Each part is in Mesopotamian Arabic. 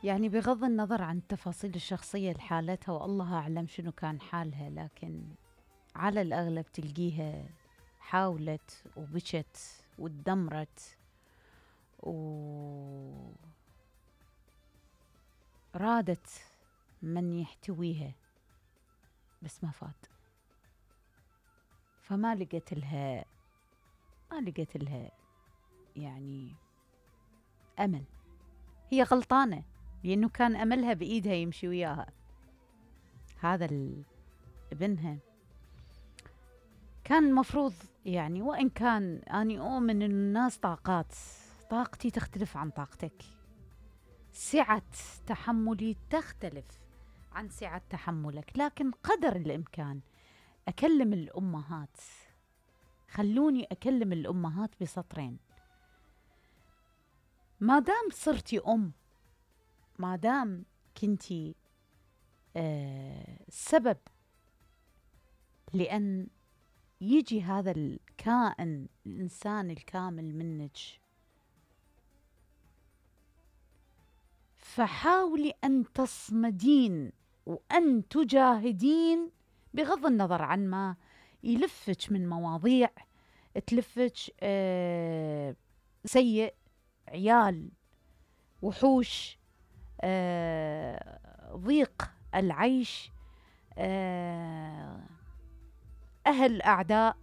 يعني بغض النظر عن التفاصيل الشخصية لحالتها والله أعلم شنو كان حالها، لكن على الأغلب تلقيها حاولت وبكت وتدمرت ورادت من يحتويها بس ما فات. فما لقيت لها يعني أمل. هي غلطانة لأنه كان أملها بإيدها يمشي وياها. هذا ابنها كان مفروض يعني، وإن كان أني أؤمن أن الناس طاقتي تختلف عن طاقتك، سعة تحملي تختلف عن سعة تحملك، لكن قدر الإمكان أكلم الأمهات. خلوني أكلم الأمهات بسطرين. ما دام صرتي أم، ما دام كنتي سبب لأن يجي هذا الكائن الإنسان الكامل منك، فحاولي أن تصمدين وأن تجاهدين بغض النظر عن ما يلفك من مواضيع تلفك سيء، عيال، وحوش، ضيق العيش، أهل أعداء،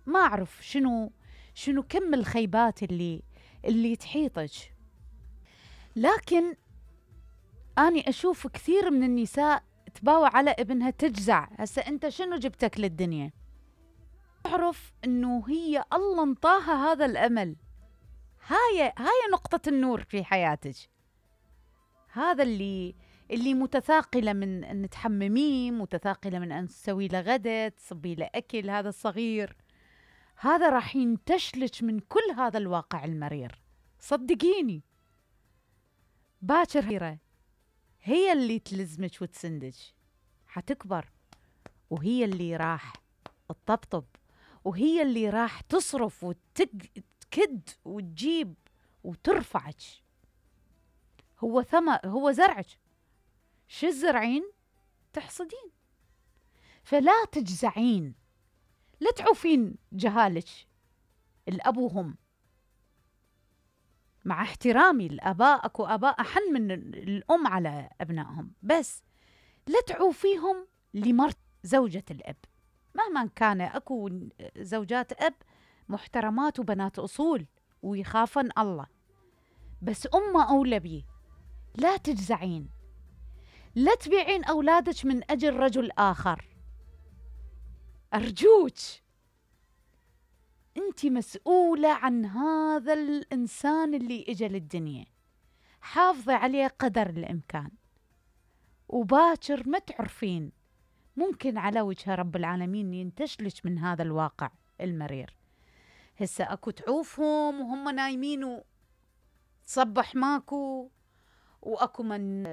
ما أعرف شنو كم الخيبات اللي تحيطك. لكن أني أشوف كثير من النساء تباوع على ابنها تجزع. هسه أنت شنو جبتك للدنيا؟ تعرف أنه هي الله انطاها هذا الأمل. هاي نقطة النور في حياتك. هذا اللي متثاقلة من أن تحمميه، متثاقلة من أن تسوي له غدا، تصبي له أكل. هذا الصغير هذا راح ينتشلك من كل هذا الواقع المرير، صدقيني. باكر هي اللي تلزمك وتسندك، حتكبر وهي اللي راح تطبطب، وهي اللي راح تصرف وتكد وتجيب وترفعك. هو زرعك، شو الزرعين تحصدين. فلا تجزعين، لا تعوفين جهالك. الأب وهم، مع احترامي الآباء، أكو آباء أحن من الأم على أبنائهم، بس لا تعوفيهم لمرت زوجة الأب مهما كان. أكو زوجات أب محترمات وبنات أصول ويخافن الله، بس أمه أولى بيه. لا تجزعين، لا تبيعين أولادك من أجل رجل آخر. أرجوك، أنت مسؤولة عن هذا الإنسان اللي إجا للدنيا. حافظي عليه قدر الإمكان، وباكر ما تعرفين، ممكن على وجه رب العالمين ينتشلك من هذا الواقع المرير. هسه أكو تعوفهم وهم نايمين وتصبح ماكو، وأكو من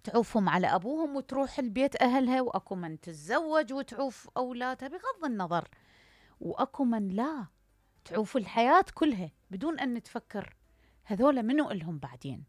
تعوفهم على أبوهم وتروح البيت أهلها، وأكو من تتزوج وتعوف أولادها بغض النظر، وأكو من لا تعوف الحياة كلها بدون أن تفكر هذول منو إلهم بعدين.